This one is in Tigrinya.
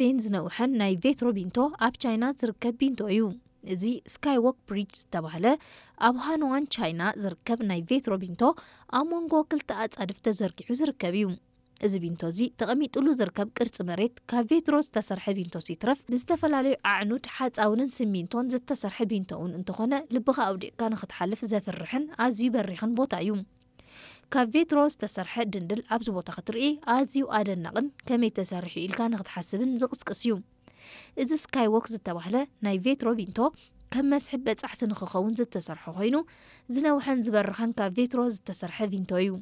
ስፔን ዝነውሐን ናይ ቬትሮ ቢንቶ ኣብ ቻይና ዝርከብ ቢንቶ እዩ። እዚ ስካይዎክ ብሪጅ ዝተባህለ ኣብ ሃኖዋን ቻይና ዝርከብ ናይ ቬትሮ ቢንቶ ኣብ መንጎ ክልተ ኣጻድፍ ተዘርጊሑ ዝርከብ እዩ። እዚ ቢንቶ እዚ ተቐሚጥሉ ዝርከብ ቅርጺ መሬት ካብ ቬትሮ ዝተሰርሐ ቢንቶ ሲትረፍ ብዝተፈላለዩ ኣዕኑድ ሓፃውንን ሲሚንቶን ዝተሰርሐ ቢንቶ እውን እንተኾነ ልብኻ ኣውዲቕካ ንክትሓልፍ ዘፍርሕን ኣዝዩ በሪኽን ቦታ እዩ። ካብ ቬትሮ ዝተሰርሐ ድንድል ኣብዚ ቦታ ክትርኢ ኣዝዩ ኣደናቕን ከመይ ተሰሪሑ ኢልካ ንክትሓስብን ዝቕስቅስ እዩ። እዚ ስካይዎክ ዝተባህለ ናይ ቬትሮ ቢንቶ ከም መስሕብ በጻሕቲ ንክኸውን ዝተሰርሐ ኮይኑ ዝነውሐን ዝበርኸን ካብ ቬትሮ ዝተሰርሐ ቢንቶ እዩ።